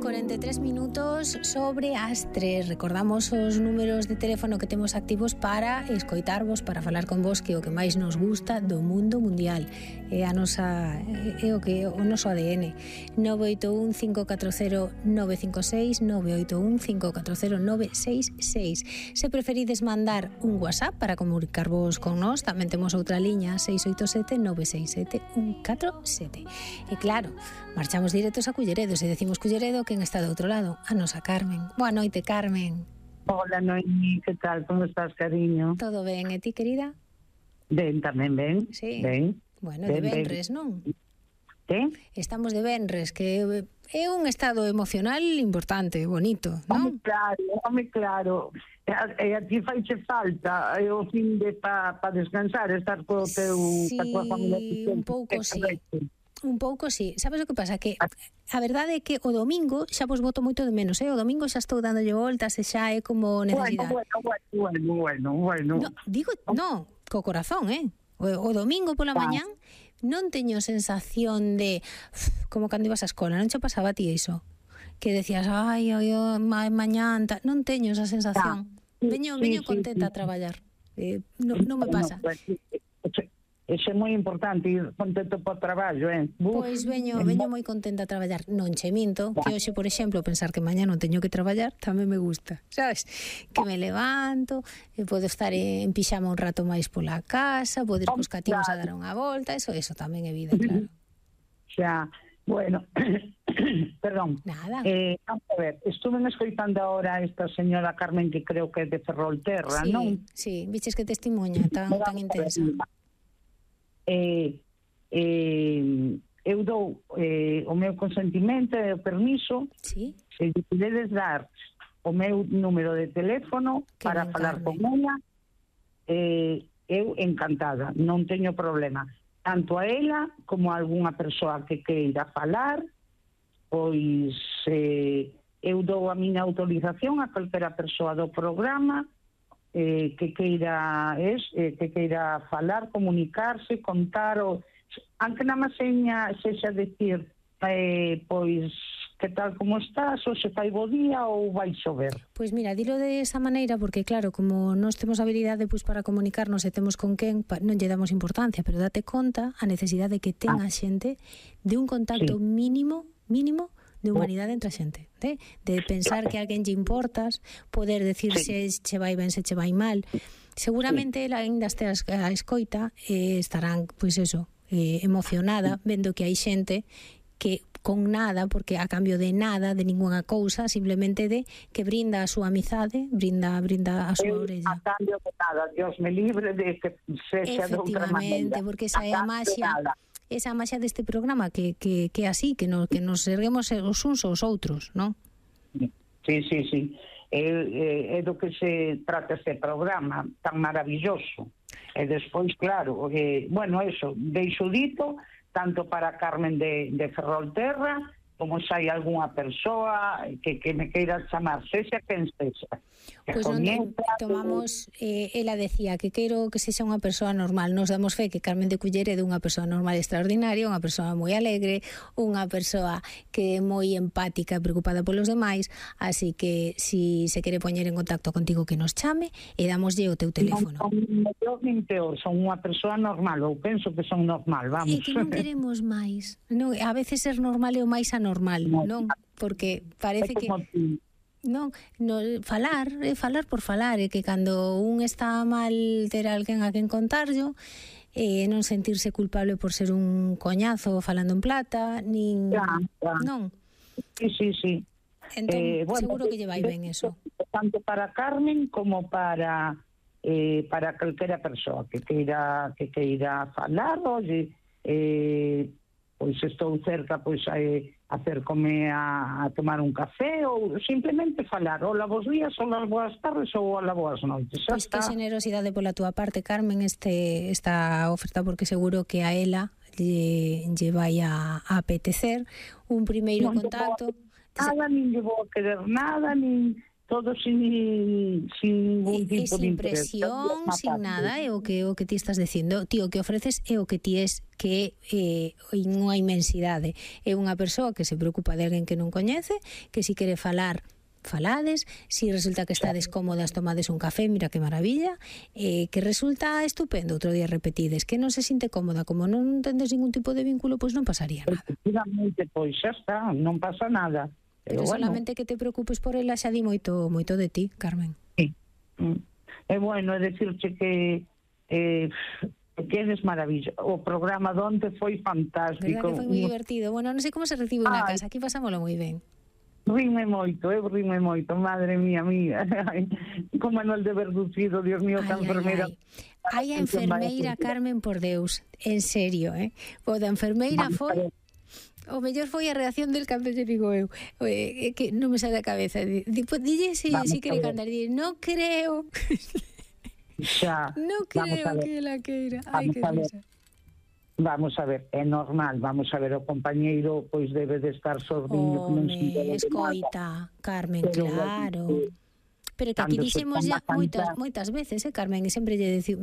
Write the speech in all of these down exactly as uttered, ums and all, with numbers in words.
cuarenta e tres minutos sobre as tres. Recordamos os números de teléfono que temos activos para escoitarvos, para falar con vos, que é o que máis nos gusta do mundo mundial. É a nosa, é o que o noso A D N. nove oito un cinco catro cero nove cinco seis, nove oito un cinco catro cero nove seis seis. Se preferides mandar un WhatsApp para comunicarvos con nós, tamén temos outra liña seis oito sete nove seis sete un catro sete. E claro, marchamos directos a Culleredo. Se decimos Culleredo, quen está do outro lado? A nosa Carmen. Boa noite, Carmen. Hola, Noemi, que tal? Como estás, cariño? Todo ben, e ti, querida? Ben, tamén ben. Sí. Ben. Bueno, ben, de venres, ben. non? Que? Estamos de venres, que é un estado emocional importante, bonito, non? Home, claro, home, claro. E a ti faiche falta é o fin de pa, pa descansar, estar co teu, sí, pa tua familia. Un pouco, sí. Un pouco, sí. Sabes o que pasa? Que a verdade é que o domingo xa vos boto moito de menos, eh? O domingo xa estou dándolle voltas e xa é como necesidade. Bueno, bueno, bueno, bueno. No, digo, no, co corazón, eh? O, o domingo pola mañán non teño sensación de como cando ibas á escola, non che pasaba a ti iso? Que decías, ai, ai, ai ma, mañán, ta... non teño esa sensación. Sí, veño, sí, veño sí, contenta sí. a traballar. Eh, non no me pasa. Bueno, pues, Eso é moi importante, ir contento por traballo, eh? Uf, Pois veño, veño moi contenta a traballar. Non che minto, que hoxe, por exemplo, pensar que mañá non teño que traballar, tamén me gusta, sabes? Que me levanto, e podo estar en pixama un rato máis pola casa, podo ir cos cativos a dar unha volta, eso, eso tamén é vida, claro. Xa, bueno, perdón. Nada. Eh, vamos a ver, estuve escoitando ahora a esta señora Carmen, que creo que é de Ferrolterra, sí, non? Sí, viches que testemunha tan, tan intensa. Eh, eh, eu dou eh, o meu consentimento e o permiso, sí? Se lle podedes dar o meu número de teléfono que para falar con ela, eh, eu encantada, non teño problema, tanto a ela como a algunha persoa que queira falar, pois eh, eu dou a miña autorización a calquera persoa do programa eh, que queira es, eh, que queira falar, comunicarse, contar o aunque na maseña sexa decir eh, pois que tal como estás, ou se fai bo día ou vai chover. Pois mira, dilo de esa maneira porque claro, como nós temos habilidade pois para comunicarnos e temos con quen, non lle damos importancia, pero date conta a necesidade que ten a xente de un contacto sí. mínimo, mínimo de humanidade entre a xente, de, de pensar que a alguén lle importas, poder decir sí. se che vai ben, se che vai mal. Seguramente sí. ela ainda este a escoita eh, estarán, pois eso, eh, emocionada vendo que hai xente que con nada, porque a cambio de nada, de ninguna cousa, simplemente de que brinda a súa amizade, brinda brinda a súa orella. A cambio de nada, Dios me libre de que sexa de outra maneira. Efectivamente, porque esa é a maxia, esa maxia deste programa que que que así, que no, que nos erguemos os uns aos outros, non? Sí, sí, sí. É, é, é do que se trata este programa tan maravilloso. E despois, claro, eh, bueno, eso, deixo dito tanto para Carmen de, de Ferrolterra como se hai algunha persoa que, que me queira chamar, sexa quen sexa. Pois pues non tomamos, eh, ela decía que quero que sexa unha persoa normal. Nos damos fe que Carmen de Culleredo é unha persoa normal extraordinaria, unha persoa moi alegre, unha persoa que é moi empática e preocupada polos demais, así que si se quere poñer en contacto contigo que nos chame e damoslle o teu teléfono. Non, non, non peor, son unha persoa normal, ou penso que son normal, vamos. É que non queremos máis. Non, a veces ser normal é o máis anormal. normal, non? Porque parece que non, no, falar, é falar por falar, é que cando un está mal ter alguén a quen contarlo, eh, non sentirse culpable por ser un coñazo falando en plata, nin ya, ya. non. Sí, sí, sí. Entón, eh, bueno, seguro que lle vai ben eso. Tanto para Carmen como para eh, para calquera persoa que queira que queira falar, oye, eh, pois estou cerca, pois eh, acercome a, a tomar un café ou simplemente falar, hola, bos días, hola, boas tardes ou hola, boas noites. Pois que generosidade pola túa parte, Carmen, este esta oferta, porque seguro que a ela lle, lle vai a, a apetecer un primeiro non contacto. Nada, nin lle vou a querer nada, nin todo sin, sin ningún e, tipo sin de interés. presión, sin nada, é o que o que ti estás dicindo. Ti o que ofreces é o que ti es, que é eh, unha inmensidade. É unha persoa que se preocupa de alguén que non coñece, que si quere falar, falades, si resulta que estades cómodas, tomades un café, mira que maravilla, eh, que resulta estupendo, outro día repetides, que non se sinte cómoda, como non tendes ningún tipo de vínculo, pois non pasaría nada. Efectivamente, pois xa está, non pasa nada. Pero, Pero bueno, solamente que te preocupes por ela xa di moito moito de ti, Carmen. Sí. É bueno, é decirche que eh, que eres maravilloso. O programa donde foi fantástico. Verdad que foi moi divertido. Bueno, non sei como se recibe na casa, aquí pasámoslo moi ben. Rime moito, eu rime moito, madre mía, mía. Con Manuel de Verducido, Dios mío, que enfermeira. Ai, a enfermeira, Carmen, por Deus, en serio, eh? O da enfermeira foi... O mellor foi a reacción del cando lle digo eu, eh, que non me sale a cabeza. Dipo, dille se si, si quere cantar, dille, non creo. Xa, non creo que la queira. Ai, que risa. Vamos a ver, é normal, vamos a ver, o compañeiro pois debe de estar sordiño. Home, escoita, Carmen, pero, claro. Pero que aquí dixemos ya moitas, moitas veces, eh, Carmen, e sempre lle dici,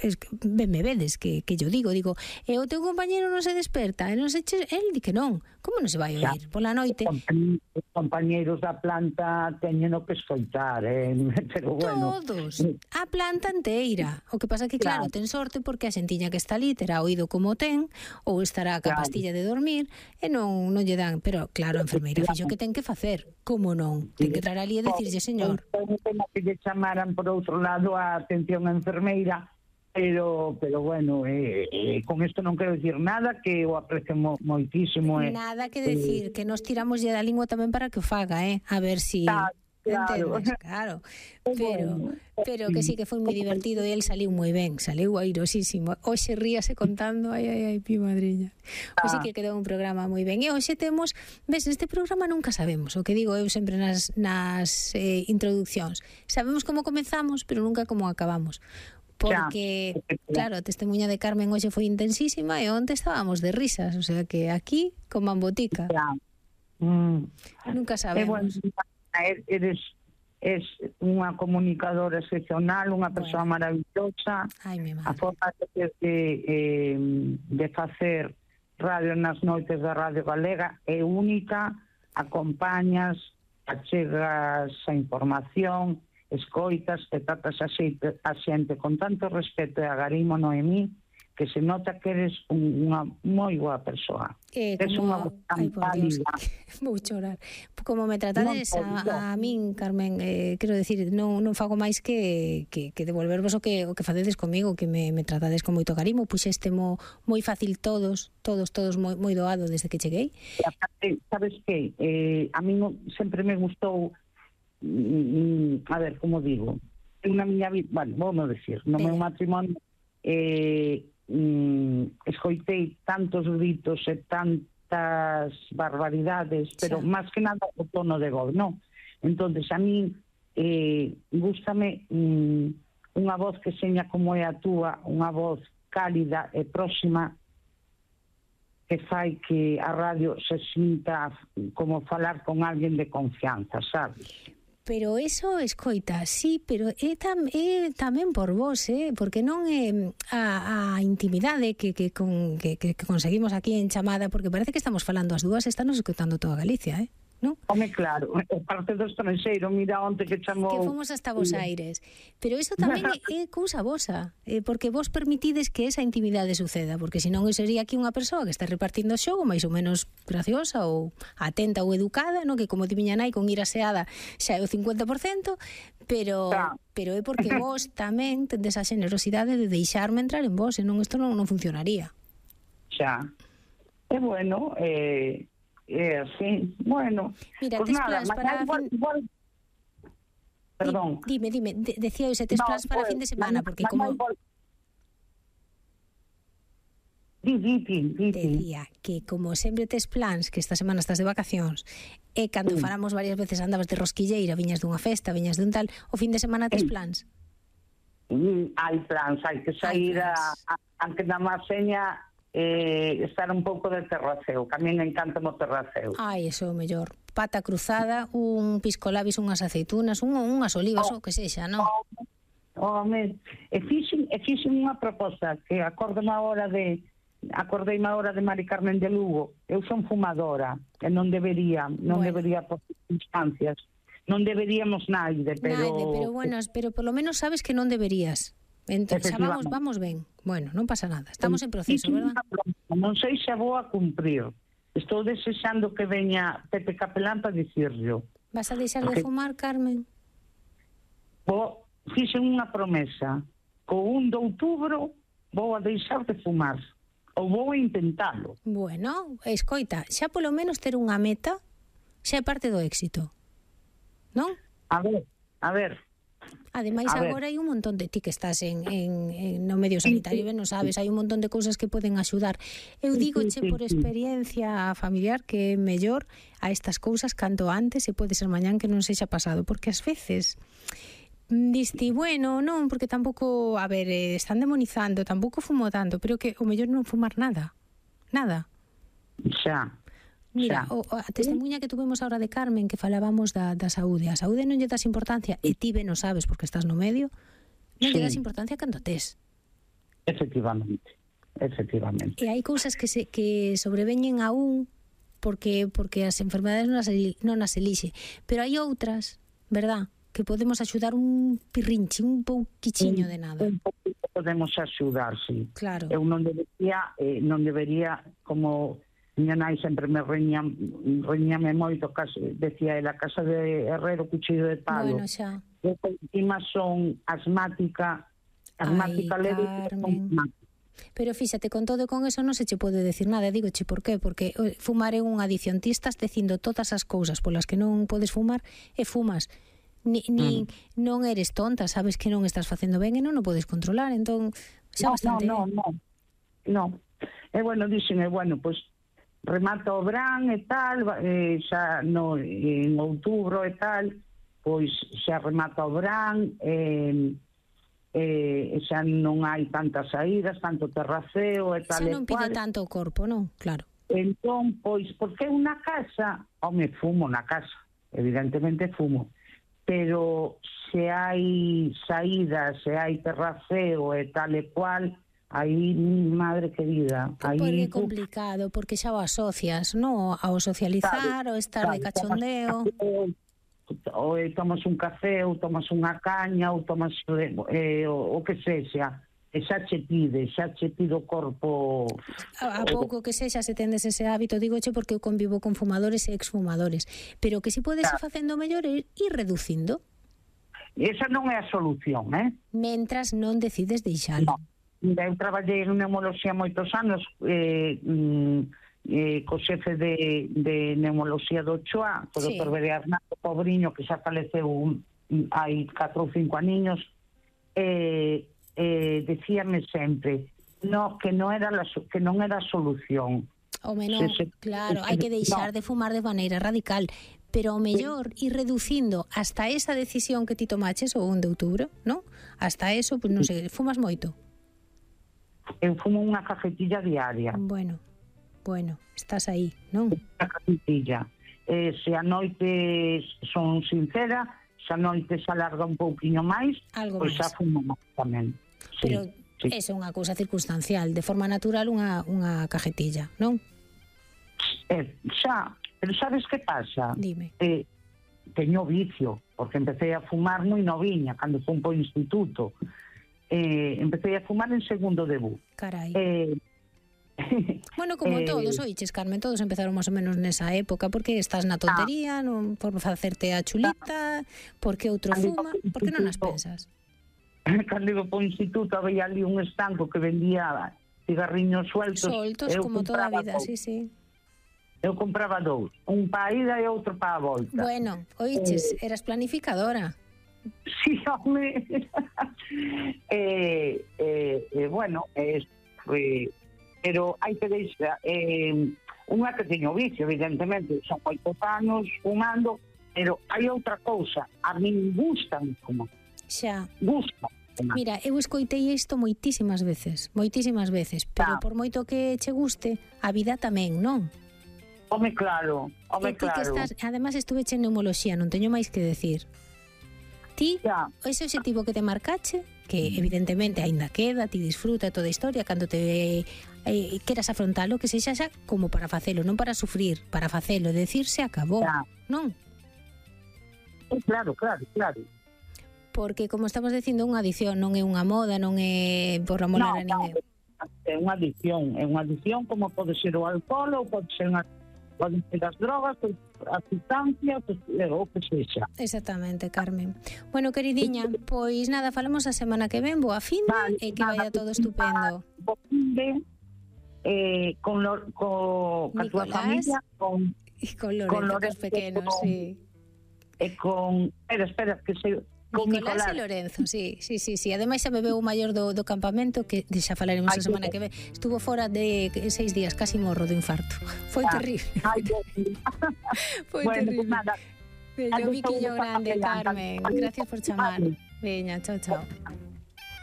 es, ben me vedes que, que yo digo, digo, e o teu compañero non se desperta, e non se che, el di que non, como non se vai a oír pola noite? Os compañeros da planta teñen o que escoitar, eh, pero bueno. Todos, a planta inteira. O que pasa que, claro, claro, ten sorte porque a xentiña que está ali terá oído como ten, ou estará ca claro. pastilla de dormir, e non, non lle dan, pero claro, a enfermeira fixo que ten que facer, como non? Ten que traer ali e dicirlle, señor. Non temos que lle chamaran por outro lado a atención a enfermeira, pero pero bueno, eh, eh, con isto non quero dicir nada, que o aprecio mo, moitísimo. Eh, nada que decir, eh, que nos tiramos lle da lingua tamén para que o faga, eh? A ver si... Claro. Claro. Entendes? Claro, pero pero que sí que foi moi divertido e el saliu moi ben, saliu airosísimo. Hoxe ríase contando, ai, ai, ai, pi madriña. Hoxe que quedou un programa moi ben. E hoxe temos, ves, neste programa nunca sabemos, o que digo eu sempre nas, nas eh, introduccións. Sabemos como comezamos, pero nunca como acabamos. Porque, claro, a testemunha de Carmen hoxe foi intensísima e onte estábamos de risas, o sea que aquí, con mambotica. Mm. Nunca sabemos. Eres es unha comunicadora excepcional, unha persoa bueno. maravillosa. Ai, a forma de, de, eh, de facer radio nas noites da Radio Galega é única, acompañas, achegas a información, escoitas, te tratas a xente, a xente con tanto respeto e agarimo, Noemí, que se nota que eres unha moi boa persoa. Eh, como, unha ai, por Dios, vou chorar. Como me tratades no, a, a min, Carmen, eh, quero decir, non, non fago máis que, que, que devolvervos o que, o que facedes comigo, que me, me tratades con moito carimo, puxeste mo, moi fácil todos, todos, todos moi, moi doado desde que cheguei. Sabes que eh, a min sempre me gustou, mm, a ver, como digo, unha miña vida, bueno, vou non decir, no meu matrimonio, eh, Mm, escoitei tantos gritos e tantas barbaridades, pero sí. máis que nada o tono de voz, non? Entonces a mí eh, gústame mm, unha voz que seña como é a túa, unha voz cálida e próxima, que fai que a radio se sinta como falar con alguén de confianza, sabes? Pero eso, escoita, sí, pero é, tam, é tamén por vos, eh? Porque non é a, a intimidade que, que, con, que, que conseguimos aquí en chamada, porque parece que estamos falando as dúas, estamos escoitando toda Galicia, eh? ¿No? Home, claro, parte do estranxeiro, mira onte que chamou... Que fomos hasta Bos Aires. Pero iso tamén é, é cousa vosa, eh, porque vos permitides que esa intimidade suceda, porque senón sería aquí unha persoa que está repartindo o xogo máis ou menos graciosa ou atenta ou educada, no? Que como ti miña nai con ir aseada xa é o cincuenta por cento, pero claro. pero é porque vos tamén tendes a xenerosidade de deixarme entrar en vos, senón isto non, non funcionaría. Xa. É bueno, eh... É así, bueno. Mira, pues tes nada, plans para igual, fin... igual... Perdón. Dime, dime, de, decía eu, se tes no, plans para pues, fin de semana, porque como... Igual... Di, di, di, di, decía que como sempre tes plans, que esta semana estás de vacacións, e cando sí. falamos varias veces andabas de rosquilleira, viñas dunha festa, viñas dun tal, o fin de semana tes sí. plans? Mm, hai plans, hai que sair a, a, aunque na má seña... Eh, estar un pouco de terraceo, que a mí me encanta o terraceo. Ai, eso é o mellor. pata cruzada, un piscolabis, unhas aceitunas, un, unhas olivas, o que sexa, non? Home, e fixen, e fixen unha proposta que acordei a hora de acordei a hora de Mari Carmen de Lugo. Eu son fumadora e non debería, non bueno. debería por circunstancias. Non deberíamos naide, pero Naide, pero bueno, pero por lo menos sabes que non deberías. Entón, xa vamos, vamos ben. Bueno, non pasa nada. Estamos en proceso, verdad? Non sei se vou a cumprir. Estou desexando que veña Pepe Capelán para dicirlo. Vas a deixar de fumar, Carmen? Vou, fixen unha promesa. Co un de outubro vou a deixar de fumar. Ou vou a intentalo. Bueno, escoita, xa polo menos ter unha meta xa é parte do éxito. Non? A ver, a ver. Ademais, a agora ver. Hai un montón de ti que estás en, en, en no medio sanitario, ben non sabes, hai un montón de cousas que poden axudar. Eu digo che por experiencia familiar que é mellor a estas cousas canto antes e pode ser mañán que non sexa pasado, porque ás veces diste, bueno, non, porque tampouco, a ver, eh, están demonizando, tampouco fumo tanto, pero que o mellor non fumar nada. Nada. Xa. Mira, o, a testemunha que tuvemos ahora de Carmen, que falábamos da, da saúde. A saúde non lle das importancia, e ti ben o sabes porque estás no medio, non sí. lle das importancia cando tes. Efectivamente, efectivamente. E hai cousas que se que sobreveñen a un porque porque as enfermedades non as, non as elixe, pero hai outras, verdad, que podemos axudar un pirrinche, un pouquichiño de nada. Un pouquinho podemos axudar, sí. Claro. Eu non debería, eh, non debería, como miña nai sempre me reñía, reñame moito, casi, decía, la casa de Herrero, cuchillo de palo. Bueno, xa. Eu encima son asmática, asmática Ay, leve, Carmen. Pero fíxate, con todo e con eso non se che pode decir nada. Digo che por qué? Porque fumar é unha adicción. Ti estás dicindo todas as cousas polas que non podes fumar e fumas. Ni, ni mm. non eres tonta, sabes que non estás facendo ben e non o podes controlar, entón xa no, bastante. No, no, no, no. E bueno, dixen, e bueno, pois pues, remata o verán e tal, e xa no, en outubro e tal, pois xa remata o verán, e, e xa non hai tantas saídas, tanto terraceo e tal. Xa non pide tanto o corpo, non? Claro. Entón, pois, porque unha casa, home, fumo na casa, evidentemente fumo, pero se hai saídas, se hai terraceo e tal e cual, aí, madre querida, aí... Porque é complicado, porque xa o asocias, non? Ao socializar, ao estar de cachondeo... Ou tomas un café, ou tomas unha caña, ou tomas eh, o, o que sexa, e xa che pide, xa che pide o corpo... A, a pouco que sexa se tendes ese hábito, digoche porque eu convivo con fumadores e exfumadores, pero que si podes ir facendo mellor é ir reducindo. Esa non é a solución, eh? Mentras non decides deixalo. No. Eu traballei en neumoloxía moitos anos, eh, eh, co xefe de, de neumoloxía do Ochoa, o sí. doutor Bernardo Pobriño, que xa faleceu un, hai catro ou cinco aniños, e... Eh, Eh, decíame sempre no, que non era la, que non era a solución. O menor, se, se, claro, hai que deixar no. de fumar de maneira radical, pero o mellor ir reducindo hasta esa decisión que ti tomaches o un de outubro, non? Hasta eso, pues non sei, fumas moito? Eu fumo unha cajetilla diaria. Bueno, bueno, estás aí, non? Unha cajetilla. Eh, se a noite son sincera, se a noite se alarga un pouquiño máis, pois xa fumo máis tamén. Pero sí, é unha cousa circunstancial, de forma natural unha, unha cajetilla, non? Eh, xa, pero sabes que pasa? Dime. Eh, teño vicio, porque empecé a fumar moi noviña, cando fui po instituto. Eh, empecé a fumar en segundo debut. Carai. Eh, bueno, como eh, todos, oiches, Carmen, todos empezaron máis ou menos nesa época, porque estás na tontería, ah, non por facerte a chulita, porque outro fuma, porque non as pensas? Cando iba po instituto había ali un estanco que vendía cigarriños sueltos. Soltos, como toda a vida, sí, sí. Eu compraba dous, un pa a ida e outro pa a volta. Bueno, oiches, eh, eras planificadora. Sí, home. eh, eh, eh, bueno, eh, eh, pero hai que deixar, eh, unha que teño vicio, evidentemente, son oito anos fumando, pero hai outra cousa, a min gustan fumar. Xa. Gusta. Mira, eu escoitei isto moitísimas veces, moitísimas veces, pero ah. por moito que che guste, a vida tamén, non? Home, claro, home, E ti que claro. estás, además estuve en neumoloxía, non teño máis que decir. Ti, Ya. ese objetivo que te marcache, que evidentemente aínda queda, ti disfruta toda a historia, cando te eh, queras afrontalo, que sexa xa como para facelo, non para sufrir, para facelo, decirse acabou, Ya. non? Eh, Claro, claro, claro. Porque, como estamos dicindo, unha adicción, non é unha moda, non é por amolar a No, ninguén. é unha adicción, é unha adicción como pode ser o alcohol ou pode ser unha, pode ser as drogas, as sustancias, o que sexa. Exactamente, Carmen. Bueno, queridiña, pois nada, falamos a semana que ven, boa fin Vale, e que nada, vaya todo estupendo. Bo fin de, eh, con, lo, co, ca túa Nicolás. familia, con, E con Lorenzo, Con cos Lorenzo, pequenos, con- sí. e con, espera, espera, que se, con Nicolás, Nicolás. e Lorenzo, sí, sí, sí, sí. Ademais xa bebeu o maior do, do campamento, que xa falaremos Ai, a semana que ven. Estuvo fora de seis días, casi morro do infarto. Foi Ah, terrible. Ai, Dios mío. Foi Bueno, terrible. pues nada. Veña, un Adiós, biquillo saúde, grande, papelán. Carmen. Gracias por chamar. Vale. Veña, chao, chao.